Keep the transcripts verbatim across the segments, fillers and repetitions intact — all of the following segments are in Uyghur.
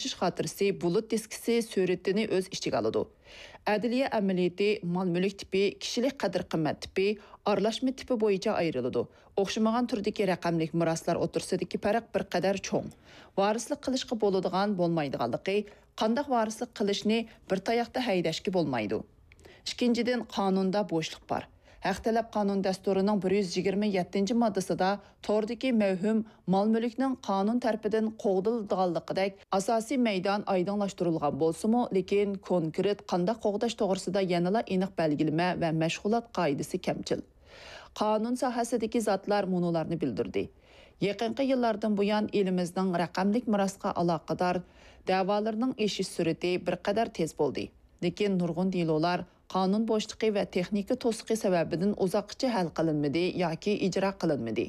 ئايرىلىشىش خاتىرىسى بۇلۇت دىسكىسى سۈرىتىنى ئۆز ئىچىگە ئالىدۇ. ئەدلىيە ئەمەلىيىتى مال-مۈلۈك تىپى، كىشىلىك قەدىر-قىممەت تىپى، ئارىلاشما تىپى بويىچە ئايرىلىدۇ. ئوخشىمىغان تۈردىكى رەقەملىك مىراسلار ئوتتۇرىسىدىكى پەرق بىر قەدەر چوڭ. ۋارىسلىق قىلىشقا بولىدىغان، بولمايدىغانلىقى، قانداق ۋارىسلىق قىلىشنى بىر تاياقتا ھەيدەشكە بولمايدۇ. ئىككىنچىدىن، قانۇندا بوشلۇق بار. ھەق تەلەپ قانۇن دەستۇرىنىڭ بىر يۈز يىگىرمە يەتتىنچى ماددىسىدا توردىكى مەۋھۇم مال-مۈلۈكنىڭ قانۇن تەرىپىدىن قوغدىلىدىغانلىقىدەك ئاساسىي مەيدان ئايدىڭلاشتۇرۇلغان بولسىمۇ، لېكىن كونكرېت قانداق قوغداش توغرىسىدا يەنىلا ئېنىق بەلگىلىمە ۋە مەشغۇلات قائىدىسى كەمچىل. قانۇن ساھەسىدىكى زاتلار مۇنۇلارنى بىلدۈردى. يېقىنقى يىللاردىن بۇيان، ئېلىمىزنىڭ رەقەملىك مىراسقا ئالاقىدار دەۋالىرىنىڭ ئېشىش سۈرئىتى بىر قەدەر تېز بولدى. لېكىن نۇرغۇن دېلولار قانۇن بوشلۇقى ۋە تېخنىكا توسۇقى سەۋەبىدىن ئۇزاققىچە ھەل قىلىنمىدى ياكى ئىجرا قىلىنمىدى.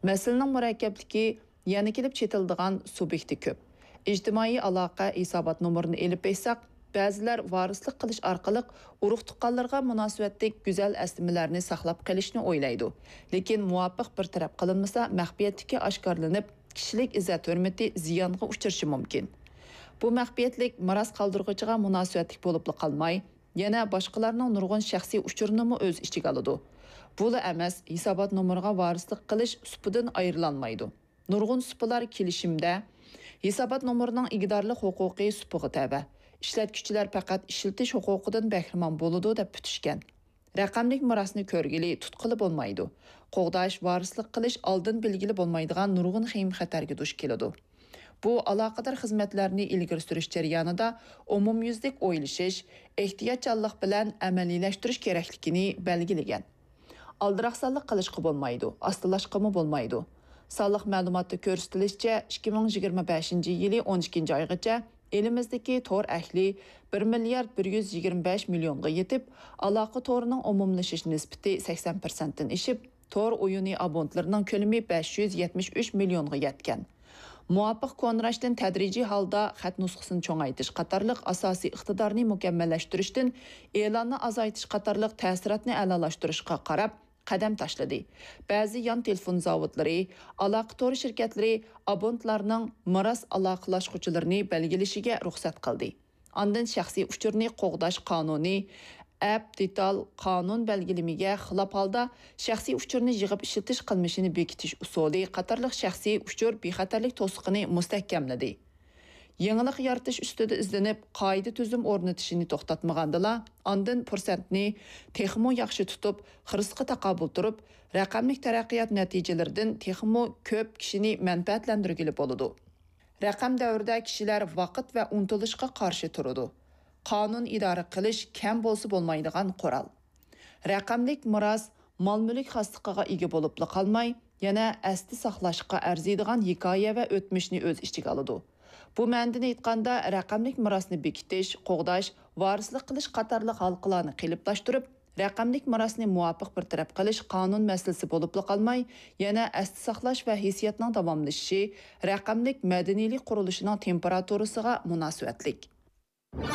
مەسىلىنىڭ مۇرەككەپلىكى، يەنە كېلىپ چېتىلىدىغان سۇبيېكتى كۆپ. ئىجتىمائىي ئالاقە ھېسابات نومۇرىنى ئېلىپ ئېيتساق، بەزىلەر ۋارىسلىق قىلىش ئارقىلىق ئۇرۇق-تۇغقانلىرىغا مۇناسىۋەتلىك گۈزەل ئەسلىمىلەرنى ساقلاپ قېلىشنى ئويلايدۇ. لېكىن مۇۋاپىق بىر تەرەپ قىلىنمىسا، مەخپىيەتلىكى ئاشكارىلىنىپ، كىشىلىك ئىززەت-ھۆرمىتى زىيانغا ئۇچرىشى مۇمكىن. بۇ مەخپىيەتلىك مىراس قالدۇرغۇچىغا مۇناسىۋەتلىك بولۇپلا قالماي، يەنە باشقىلارنىڭ نۇرغۇن شەخسىي ئۇچۇرىنىمۇ ئۆز ئىچىگە ئالىدۇ. بۇلا ئەمەس، ھېسابات نومۇرىغا ۋارىسلىق قىلىش سۇپىدىن ئايرىلالمايدۇ. نۇرغۇن سۇپىلار كېلىشىمدە ھېسابات نومۇرىنىڭ ئىگىدارلىق ھوقۇقى سۇپىغا تەۋە، ئىشلەتكۈچىلەر پەقەت ئىشلىتىش ھوقۇقىدىن بەھرىمەن بولىدۇ، دەپ پۈتۈشكەن. رەقەملىك مىراسنى كۆرگىلى، تۇتقىلى بولمايدۇ. قوغداش، ۋارىسلىق قىلىش ئالدىن بىلگىلى بولمايدىغان نۇرغۇن خېيىم-خەتەرگە دۇچ كېلىدۇ. بۇ ئالاقىدار خىزمەتلەرنى ئىلگىرى سۈرۈش جەريانىدا ئومۇميۈزلۈك ئويلىشىش، ئېھتىياتچانلىق بىلەن ئەمەلىيلەشتۈرۈش كېرەكلىكىنى بەلگىلىگەن. ئالدىراقسانلىق قىلىشقا بولمايدۇ، ئاستىلاشقىمۇ بولمايدۇ. سانلىق مەلۇماتتا كۆرسىتىلىشىچە، ئىككى مىڭ يىگىرمە بەشىنچى يىلى ئون ئىككىنچى ئايغىچە ئېلىمىزدىكى تور ئەھلى بىر مىليارد بىر يۈز يىگىرمە بەش مىليونغا يېتىپ، ئالاقە تورىنىڭ ئومۇملىشىش نىسبىتى سەكسەن پىرسەنتتىن ئېشىپ، تور ئويۇنى ئابونتلىرىنىڭ كۆلىمى بەش يۈز يەتمىش ئۈچ مىليونغا يەتكەن. مۇۋاپىق كونىراشتىن تەدرىجىي ھالدا خەت نۇسخىسىنى چوڭايتىش قاتارلىق ئاساسىي ئىقتىدارنى مۇكەممەللەشتۈرۈشتىن ئېلاننى ئازايتىش قاتارلىق تەسىراتنى ئەلالاشتۇرۇشقا قاراپ قەدەم تاشلىدى. بەزى يان تېلېفون زاۋۇتلىرى، ئالاقە تورى شىركەتلىرى ئابونتلارنىڭ مىراس ئالاقىلاشقۇچىلىرىنى بەلگىلىشىگە رۇخسەت قىلدى. ئاندىن شەخسىي ئۇچۇرنى قوغداش قانۇنى، ئەپ دېتال قانۇن بەلگىلىمىگە خىلاپ ھالدا شەخسىي ئۇچۇرنى يىغىپ ئىشلىتىش قىلمىشىنى بېكىتىش ئۇسۇلى قاتارلىق شەخسىي ئۇچۇر بىخەتەرلىك توسۇقىنى مۇستەھكەملىدى. يېڭىلىق يارىتىش ئۈستىدە ئىزدىنىپ، قائىدە-تۈزۈم ئورنىتىشنى توختاتمىغاندىلا، ئاندىن پۇرسەتنى تېخىمۇ ياخشى تۇتۇپ، خىرىسقا تاقابىل تۇرۇپ، رەقەملىك تەرەققىيات نەتىجىلىرىدىن تېخىمۇ كۆپ كىشىنى مەنپەئەتلەندۈرگىلى بولىدۇ. رەقەم دەۋرىدە كىشىلەر ۋاقىت ۋە ئۇنتۇلۇشقا قارشى تۇرىدۇ. قانۇن ئىدارە قىلىش كەم بولسا بولمايدىغان قورال. رەقەملىك مىراس مال-مۈلۈك خاسلىقىغا ئىگە بولۇپلا قالماي، يەنە ئەستە ساقلاشقا ئەرزىيدىغان ھېكايە ۋە ئۆتمۈشنى ئۆز ئىچىگە ئالىدۇ. بۇ مەنىدىن ئېيتقاندا، رەقەملىك مىراسنى بېكىتىش، قوغداش، ۋارىسلىق قىلىش قاتارلىق ھالقىلارنى قېلىپلاشتۇرۇپ، رەقەملىك مىراسنى مۇۋاپىق بىر تەرەپ قىلىش قانۇن مەسىلىسى بولۇپلا قالماي، يەنە ئەستە ساقلاش ۋە ھېسسىياتنىڭ داۋاملىشىشى، رەقەملىك مەدەنىيلىك قۇرۇلۇشىنىڭ تېمپېراتۇرىسىغا مۇناسىۋەتلىك.